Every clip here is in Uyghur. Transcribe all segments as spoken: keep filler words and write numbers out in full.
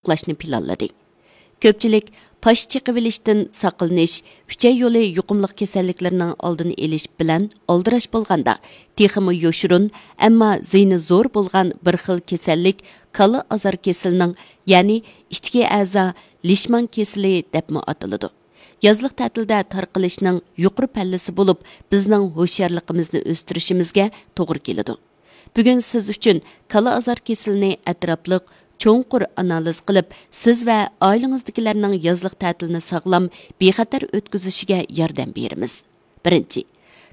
ساقلاشنى پىلانلىدى. كۆپچىلىك پاش چېقىۋېلىشتىن ساقلىنىش، ئۈچەي يولى يۇقۇملۇق كېسەللىكلىرىنىڭ ئالدىنى ئېلىش بىلەن ئالدىراش بولغاندا، تېخىمۇ يوشۇرۇن، ئەمما زىيىنى زور بولغان بىر خىل كېسەللىك كالا ئازار كېسىلىنىڭ، يەنى ئىچكى ئەزا لىشمان كېسىلى دەپمۇ ئاتىلىدۇ. يازلىق تەتىلدە تارقىلىشنىڭ يۇقىرى پەللىسى بولۇپ، بىزنىڭ ھوشيارلىقىمىزنى ئۆستۈرۈشىمىزگە توغرا كېلىدۇ. بۈگۈن سىز ئۈچۈن كالا ئازار كېسىلىنى ئەتراپلىق، چوڭقۇر ئانالىز قىلىپ، سىز ۋە ئائىلىڭىزدىكىلەرنىڭ يازلىق تەتىلنى ساغلام، بىخەتەر ئۆتكۈزۈشىگە ياردەم بېرىمىز. بىرىنچى،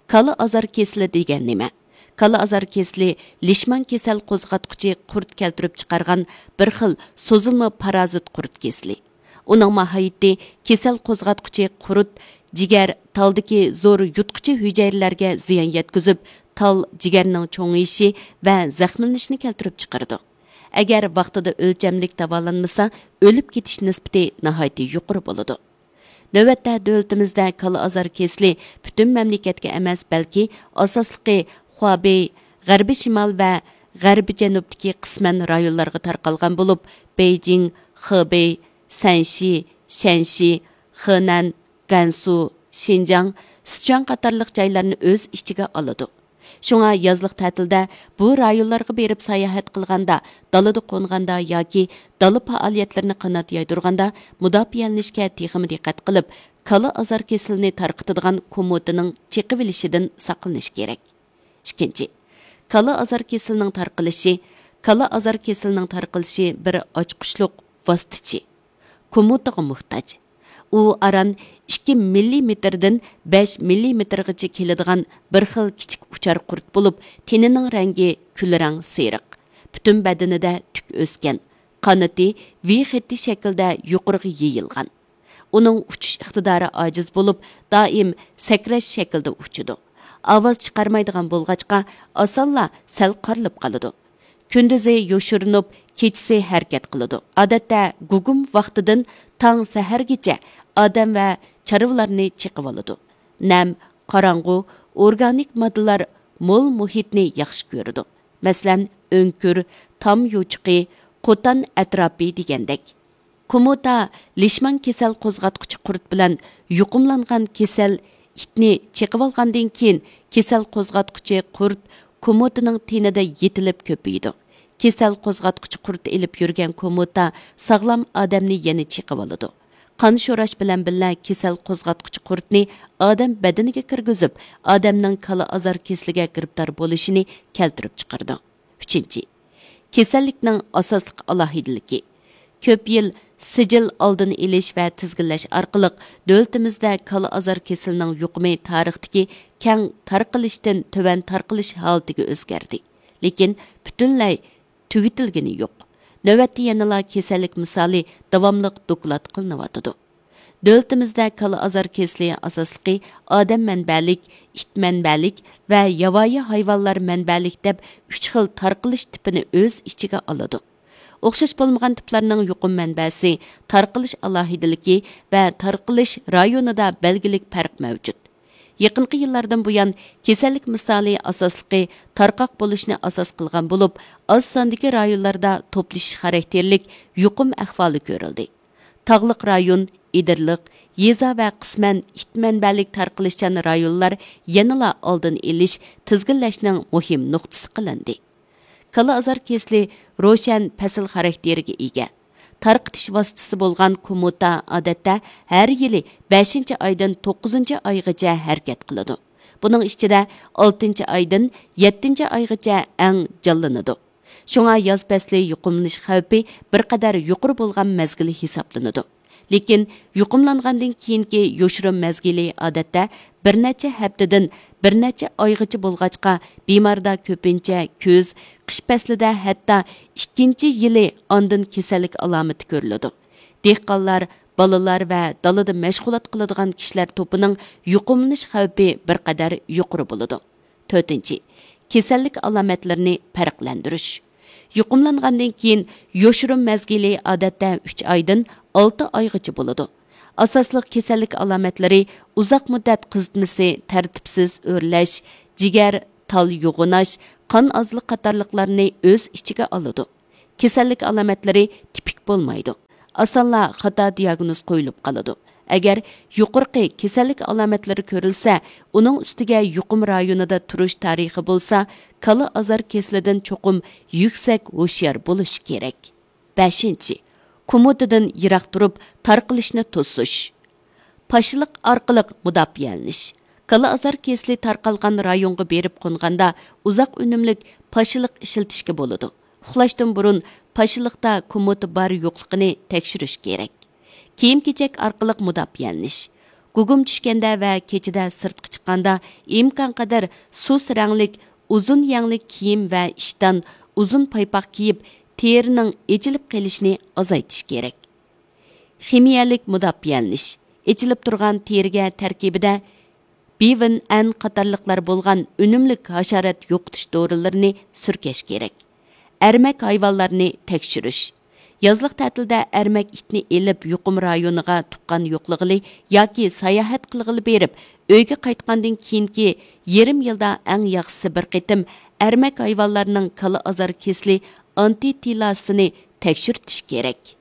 كالا ئازار كېسىلى دېگەن نېمە؟ كالا ئازار كېسىلى لىشمان كېسەل قوزغاتقۇچى قۇرت كەلتۈرۈپ چىقارغان بىر خىل سوزۇلما پارازىت قۇرت كېسىلى. ئۇنىڭ ماھىيىتى، كېسەل قوزغاتقۇچى قۇرت جىگەر، تالدىكى زور يۇتقۇچى ھۈجەيرىلەرگە زىيان يەتكۈزۈپ، تال جىگەرنىڭ چوڭىيىشى ۋە زەخىملىنىشىنى كەلتۈرۈپ چىقىرىدۇ. ئەگەر ۋاقتىدا ئۆلچەملىك داۋالانمىسا، ئۆلۈپ كېتىش نىسبىتى ناھايىتى يۇقىرى بولىدۇ. نۆۋەتتە دۆلىتىمىزدە كالا ئازار كېسىلى پۈتۈن مەملىكەتكە ئەمەس، بەلكى ئاساسلىقى خۇابېي، غەربىي شىمال ۋە غەربىي جەنۇبتىكى قىسمەن رايونلارغا تارقالغان بولۇپ، بېيجىڭ، خېبېي، سەنشى، شەنشى، خېنەن، گەنسۇ، شىنجاڭ، سىچۈەن قاتارلىق جايلارنى ئۆز ئىچىگە ئالىدۇ. شۇڭا يازلىق تەتىلدە بۇ رايونلارغا بېرىپ ساياھەت قىلغاندا، دالىدا قونغاندا ياكى دالا پائالىيەتلىرىنى قانات يايدۇرغاندا مۇداپىئەلىنىشكە تېخىمۇ دىققەت قىلىپ، كالا ئازار كېسىلىنى تارقىتىدىغان كومۇتىنىڭ چېقىۋېلىشىدىن ساقلىنىش كېرەك. ئىككىنچى، كالا ئازار كېسىلىنىڭ تارقىلىشى. كالا ئازار كېسىلىنىڭ تارقىلىشى بىر ئاچقۇچلۇق ۋاسىتىچى، كومۇتىغا موھتاج. ئۇ ئاران ئىككى مىللىمېتىردىن بەش مىللىمېتىرغىچە كېلىدىغان بىر خىل كىچىك ئۇچار قۇرت بولۇپ، تېنىنىڭ رەڭگى كۈلرەڭ سېرىق. پۈتۈن بەدىنىدە تۈك ئۆسكەن. قانىتى ۋى خېتى شەكلىدە يۇقىرىغا يېيىلغان. ئۇنىڭ ئۇچۇش ئىقتىدارى ئاجىز بولۇپ، دائىم سەكرەش شەكلىدە ئۇچىدۇ. ئاۋاز چىقارمايدىغان بولغاچقا، ئاسانلا سەل قارىلىپ قالىدۇ. كۈندۈزى يوشۇرۇنۇپ، كېچىسى ھەرىكەت قىلىدۇ. ئادەتتە گۇگۇم ۋاقتىدىن تاڭ سەھەرگىچە ئادەم ۋە چارۋىلارنى چېقىۋالىدۇ. نەم، قاراڭغۇ، ئورگانىك ماددىلار مول مۇھىتنى ياخشى كۆرىدۇ. مەسىلەن، ئۆڭكۈر، تام يوچۇقى، قوتان ئەتراپى دېگەندەك. كوموتا لىشمان كېسەل قوزغاتقۇچى قۇرت بىلەن يۇقۇملانغان كېسەل ئىتنى چېقىۋالغاندىن كېيىن، كېسەل قوزغاتقۇچى قۇرت كوموتىنىڭ تېنىدە يېتىلىپ كۆپىيىدۇ. كېسەل قوزغاتقۇچى قۇرت ئېلىپ يۈرگەن كوموتا ساغلام ئادەمنى يەنە چېقىۋالىدۇ. قان شوراش بىلەن بىللە كېسەل قوزغاتقۇچى قۇرتنى ئادەم بەدىنىگە كىرگۈزۈپ، ئادەمنىڭ كالا ئازار كېسىلىگە گىرىپتار بولۇشىنى كەلتۈرۈپ چىقىرىدۇ. ئۈچىنچى، كېسەللىكنىڭ ئاساسلىق ئالاھىدىلىكى. كۆپ يىل سىجىل ئالدىنى ئېلىش ۋە تىزگىنلەش ئارقىلىق دۆلىتىمىزدە كالا ئازار كېسىلىنىڭ يۇقۇمى تارىختىكى كەڭ تارقىلىشتىن تۆۋەن تارقىلىش ھالىتىگە ئۆزگەردى. لېكىن پۈتۈنلەي تۈگىتىلگىنى يوق. نۆۋەتتە يەنىلا كېسەللىك مىسالى داۋاملىق دوكلات قىلىنىۋاتىدۇ. دۆلىتىمىزدە كالا ئازار كېسىلى ئاساسلىقى ئادەم مەنبەلىك، ئىت مەنبەلىك ۋە ياۋايى ھايۋانلار مەنبەلىك دەپ ئۈچ خىل تارقىلىش تىپىنى ئۆز ئىچىگە ئالىدۇ. ئوخشاش بولمىغان تىپلارنىڭ يۇقۇم مەنبەسى، تارقىلىش ئالاھىدىلىكى ۋە تارقىلىش رايونىدا بەلگىلىك پەرق مەۋجۇت. يېقىنقى يىللاردىن بۇيان، كېسەللىك مىسالى ئاساسلىقى تارقاق بولۇشنى ئاساس قىلغان بولۇپ، ئاز ساندىكى رايونلاردا توپلىشىش خاراكتېرلىك يۇقۇم ئەھۋالى كۆرۈلدى. تاغلىق رايون، ئېدىرلىق، يېزا ۋە قىسمەن ئىت مەنبەلىك تارقىلىشچان رايونلار يەنىلا ئالدىنى ئېلىش، تىزگىنلەشنىڭ مۇھىم نۇقتىسى قىلىندى. كالا ئازار كېسىلى روشەن پەسىل خاراكتېرىگە ئىگە. تارقىتىش ۋاسىتىسى بولغان كومۇتا ئادەتتە ھەر يىلى بەشىنچى ئايدىن توققۇزىنچى ئايغىچە ھەرىكەت قىلىدۇ. بۇنىڭ ئىچىدە ئالتىنچى ئايدىن يەتتىنچى ئايغىچە ئەڭ جانلىنىدۇ. شۇڭا ياز پەسلى يۇقۇملىنىش خەۋپى بىر قەدەر يۇقىرى بولغان مەزگىل ھېسابلىنىدۇ. لېكىن يۇقۇملانغاندىن كېيىنكى يوشۇرۇن مەزگىلى ئادەتتە بىر نەچچە ھەپتىدىن بىر نەچچە ئايغىچە بولغاچقا، بىماردا كۆپىنچە كۈز، قىش پەسلىدە ھەتتا ئىككىنچى يىلى ئاندىن كېسەللىك ئالامىتى كۆرۈلىدۇ. دېھقانلار، بالىلار ۋە دالىدا مەشغۇلات قىلىدىغان كىشىلەر توپىنىڭ يۇقۇملىنىش خەۋپى بىر قەدەر يۇقىرى بولىدۇ. تۆتىنچى، كېسەللىك ئالامەتلىرىنى پەرقلەندۈرۈش. يۇقۇملانغاندىن كېيىن يوشۇرۇن مەزگىلى ئادەتتە ئۈچ ئايدىن ئالتە ئايغىچە بولىدۇ. ئاساسلىق كېسەللىك ئالامەتلىرى ئۇزاق مۇددەت قىزىتمىسى، تەرتىپسىز ئۆرلەش، جىگەر، تال يوغىناش، قان ئازلىق قاتارلىقلارنى ئۆز ئىچىگە ئالىدۇ. كېسەللىك ئالامەتلىرى تىپىك بولمايدۇ. ئاسانلا خاتا دىياگنوز قويۇلۇپ قالىدۇ. ئەگەر يۇقىرىقى كېسەللىك ئالامەتلىرى كۆرۈلسە، ئۇنىڭ ئۈستىگە يۇقۇم رايونىدا تۇرۇش تارىخى بولسا، كالا ئازار كېسىلىدىن چوقۇم يۈكسەك ھوشيار بولۇش كېرەك. بەشىنچى، كومۇتىدىن يىراق تۇرۇپ تارقىلىشنى توسۇش. پاشىلىق ئارقىلىق مۇداپىئەلىنىش. كالا ئازار كېسىلى تارقالغان رايونغا بېرىپ قونغاندا ئۇزاق ئۈنۈملۈك پاشىلىق ئىشلىتىشكە بولىدۇ. ئۇخلاشتىن بۇرۇن پاشىلىقتا كومۇتا بار يوقلۇقىنى تەكشۈرۈش كېرەك. كىيىم-كېچەك ئارقىلىق مۇداپىئەلىنىش. گۇگۇم چۈشكەندە ۋە كېچىدە سىرتقا چىققاندا ئىمكانقەدەر سۇس رەڭلىك، ئۇزۇن يەڭلىك كىيىم ۋە ئىشتان، ئۇزۇن پايپاق كىيىپ، تېرىنىڭ ئېچىلىپ قېلىشىنى ئازايتىش كېرەك. خىمىيەلىك مۇداپىئەلىنىش. ئېچىلىپ تۇرغان تېرىگە تەركىبىدە بىۋىن ئەن قاتارلىقلار بولغان ئۈنۈملۈك ھاشارات يوقىتىش دورىلىرىنى سۈركەش كېرەك. ئەرمەك ھايۋانلارنى تەكشۈرۈش. يازلىق تەتىلدە ئەرمەك ئىتنى ئېلىپ، يۇقۇم رايونىغا تۇغقان يوقلىغىلى ياكى ساياھەت قىلغىلى بېرىپ، ئۆيگە قايتقاندىن كېيىنكى يېرىم يىلدا ئەڭ ياخشىسى بىر قېتىم ئەرمەك ھايۋانلارنىڭ كالا ئازار كېسىلى ئانتىتىلاسىنى تەكشۈرتۈش كېرەك.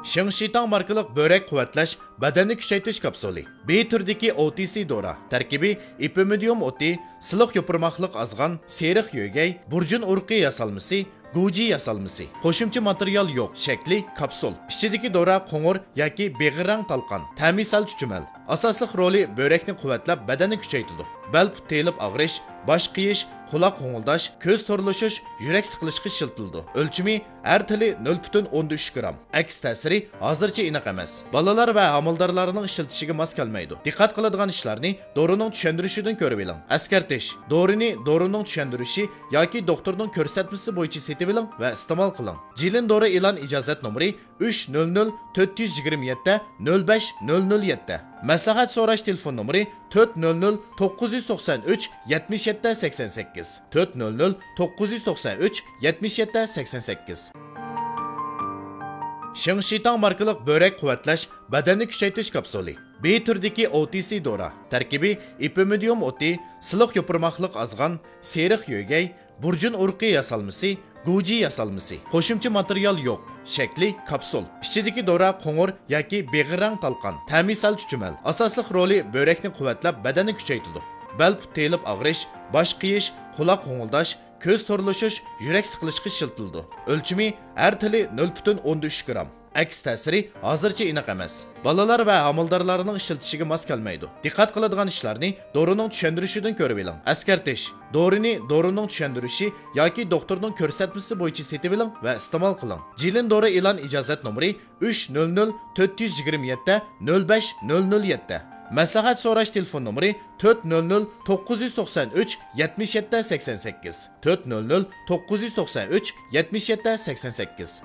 شىڭشىتاڭ ماركىلىق بۆرەك قۇۋۋەتلەش بەدەننى كۈچەيتىش كاپسۇلى. بى تۈرىدىكى ئو تى سى دورا. تەركىبى ئېپىمىدىيۇم ئوتى، سىلىق يوپۇرماقلىق ئازغان، سېرىق يۆگەي، بۇرجۇن ئۇرۇقى ياسالمىسى، گۇجى ياسالمىسى. قوشۇمچە ماتېرىيال يوق. شەكلى كاپسۇل. ئىچىدىكى دورا قوڭۇر ياكى بېغىر رەڭ تالقان. تەمى سەل چۈچۈمەل. ئاساسلىق رولى بۆرەكنى قۇۋۋەتلەپ، بەدەننى كۈچەيتىدۇ. بەل پۇت تېيىلىپ ئاغرىش، باش قېيىش، قۇلاق غوڭۇلداش، كۆز تورلىشىش، يۈرەك سىقىلىشقا ئىشلىتىلىدۇ. ئۆلچىمى ھەر تىلى نۆل پۈتۈن ئوندىن ئۈچ گرام. ئەكس تەسىرى ھازىرچە ئېنىق ئەمەس. بالىلار ۋە ھامىلىدارلارنىڭ ئىشلىتىشىگە ماس كەلمەيدۇ. دىققەت قىلىدىغان ئىشلارنى دورىنىڭ چۈشەندۈرۈشىدىن كۆرۈۋېلىڭ. ئەسكەرتىش: دورىنى دورىنىڭ چۈشەندۈرۈشى ياكى دوختۇرنىڭ كۆرسەتمىسى بويىچە سېتىۋېلىڭ ۋە ئىستېمال قىلىڭ. جىلىن دورا ئېلان ئىجازەت نومۇرى ئۈچ نۆل نۆل تۆت يۈز يىگىرمە يەتتە نۆل بەش نۆل نۆل يەتتە. مەسلىھەت سوراش تېلېفون نومۇرى تۆت نۆل نۆل توققۇز يۈز توقسان ئۈچ يەتمىش يەتتە سەكسەن سەككىز، تۆت نۆل نۆل توققۇز يۈز توقسان ئۈچ يەتمىش يەتتە سەكسەن سەككىز. شىڭشىتاڭ ماركىلىق بۆرەك قۇۋۋەتلەش بەدەننى كۈچەيتىش كاپسۇلى. بى تۈرىدىكى ئو تى سى دورا. تەركىبى ئېپىمىدىيۇم ئوتى، سىلىق يوپۇرماقلىق ئازغان، سېرىق يۆگەي، بۇرجۇن ئۇرۇقى ياسالمىسى، گۇجى ياسالمىسى. قوشۇمچە ماتېرىيال يوق. شەكلى كاپسۇل. ئىچىدىكى دورا قوڭۇر ياكى بېغىر رەڭ تالقان. تەمى سەل چۈچۈمەل. ئاساسلىق رولى بۆرەكنى قۇۋۋەتلەپ، بەدەننى كۈچەيتىدۇ. بەل پۇت تېيىلىپ ئاغرىش، باش قېيىش، قۇلاق غوڭۇلداش، كۆز تورلىشىش، يۈرەك سىقىلىشقا ئىشلىتىلىدۇ. ئۆلچىمى ھەر تىلى نۆل پۈتۈن ئوندىن ئۈچ گرام. ئەكس تەسىرى ھازىرچە ئېنىق ئەمەس. بالىلار ۋە ھامىلىدارلارنىڭ ئىشلىتىشىگە ماس كەلمەيدۇ. دىققەت قىلىدىغان ئىشلارنى دورىنىڭ چۈشەندۈرۈشىدىن كۆرۈۋېلىڭ. ئەسكەرتىش: دورىنى دورىنىڭ چۈشەندۈرۈشى ياكى دوختۇرنىڭ كۆرسەتمىسى بويىچە سېتىۋېلىڭ ۋە ئىستېمال قىلىڭ. جىلىن دورا ئېلان ئىجازەت نومۇرى ئۈچ نۆل نۆل تۆت يۈز يىگىرمە يەتتە نۆل بەش نۆل نۆل يەتتە. مەسلىھەت سوراش تېلېفون نومۇرى تۆت نۆل نۆل توققۇز يۈز توقسان ئۈچ يەتمىش يەتتە سەكسەن سەككىز، تۆت نۆل نۆل توققۇز يۈز توقسان ئۈچ يەتمىش يەتتە سەكسەن سەككىز.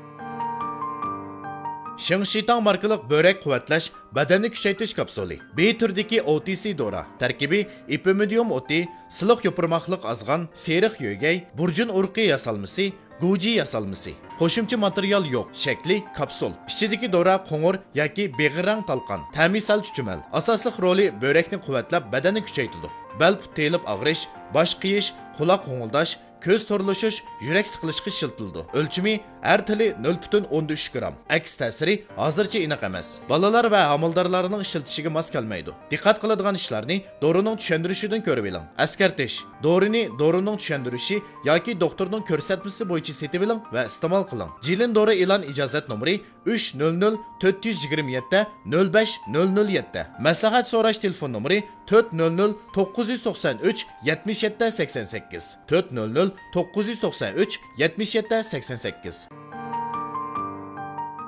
شىڭشىتاڭ ماركىلىق بۆرەك قۇۋۋەتلەش بەدەننى كۈچەيتىش كاپسۇلى. بى تۈرىدىكى ئو تى سى دورا. تەركىبى ئېپىمىدىيۇم ئوتى، سىلىق يوپۇرماقلىق ئازغان، سېرىق يۆگەي، بۇرجۇن ئۇرۇقى ياسالمىسى، گۇجى ياسالمىسى. قوشۇمچە ماتېرىيال يوق. شەكلى كاپسۇل. ئىچىدىكى دورا قوڭۇر ياكى بېغىر رەڭ تالقان. تەمى سەل چۈچۈمەل. ئاساسلىق رولى بۆرەكنى قۇۋۋەتلەپ، بەدەننى كۈچەيتىدۇ. بەل پۇت تېيىلىپ ئاغرىش، باش قېيىش، قۇلاق غوڭۇلداش، كۆز تورلىشىش، يۈرەك سىقىلىشقا ئىشلىتىلىدۇ. ئۆلچىمى ھەر تىلى نۆل پۈتۈن ئوندىن ئۈچ گرام. ئەكس تەسىرى ھازىرچە ئېنىق ئەمەس. بالىلار ۋە ھامىلىدارلارنىڭ ئىشلىتىشىگە ماس كەلمەيدۇ. دىققەت قىلىدىغان ئىشلارنى دورىنىڭ چۈشەندۈرۈشىدىن كۆرۈۋېلىڭ. ئەسكەرتىش: دورىنى دورىنىڭ چۈشەندۈرۈشى ياكى دوختۇرنىڭ كۆرسەتمىسى بويىچە سېتىۋېلىڭ ۋە ئىستېمال قىلىڭ. جىلىن دورا ئېلان ئىجازەت نومۇرى ئۈچ نۆل نۆل تۆت يۈز يىگىرمە يەتتە نۆل بەش نۆل نۆل يەتتە. مەسلىھەت سوراش تېلېفون نومۇرى تۆت نۆل نۆل توققۇز يۈز توقسان ئۈچ يەتمىش يەتتە سەكسەن سەككىز، تۆت نۆل نۆل توققۇز يۈز توقسان ئۈچ يەتمىش يەتتە سەكسەن سەككىز.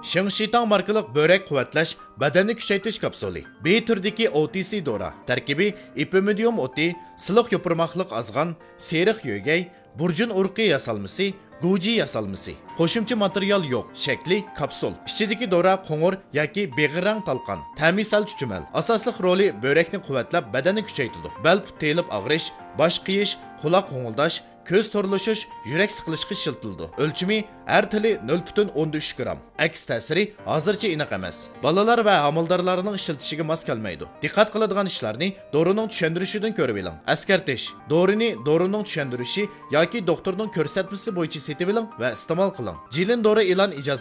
شىڭشىتاڭ ماركىلىق بۆرەك قۇۋۋەتلەش بەدەننى كۈچەيتىش كاپسۇلى. بى تۈرىدىكى ئو تى سى دورا. تەركىبى ئېپىمىدىيۇم ئوتى، سىلىق يوپۇرماقلىق ئازغان، سېرىق يۆگەي، بۇرجۇن ئۇرۇقى ياسالمىسى، گۇجى ياسالمىسى. قوشۇمچە ماتېرىيال يوق. شەكلى كاپسۇل. ئىچىدىكى دورا قوڭۇر ياكى بېغىر رەڭ تالقان. تەمى سەل چۈچۈمەل. ئاساسلىق رولى بۆرەكنى قۇۋۋەتلەپ، بەدەننى كۈچەيتىدۇ. بەل پۇت تېيىلىپ ئاغرىش، باش قېيىش، قۇلاق غوڭۇلداش، كۆز تورلىشىش، يۈرەك سىقىلىشقا ئىشلىتىلىدۇ. ئۆلچىمى ھەر تىلى نۆل پۈتۈن ئوندىن ئۈچ گرام. ئەكس تەسىرى ھازىرچە ئېنىق ئەمەس. بالىلار ۋە ھامىلىدارلارنىڭ ئىشلىتىشىگە ماس كەلمەيدۇ. دىققەت قىلىدىغان ئىشلارنى دورىنىڭ چۈشەندۈرۈشىدىن كۆرۈۋېلىڭ. ئەسكەرتىش: دورىنى دورىنىڭ چۈشەندۈرۈشى ياكى دوختۇرنىڭ كۆرسەتمىسى بويىچە سېتىۋېلىڭ ۋە ئىستېمال قىلىڭ. جىلىن دورا ئېلان ئىجازەت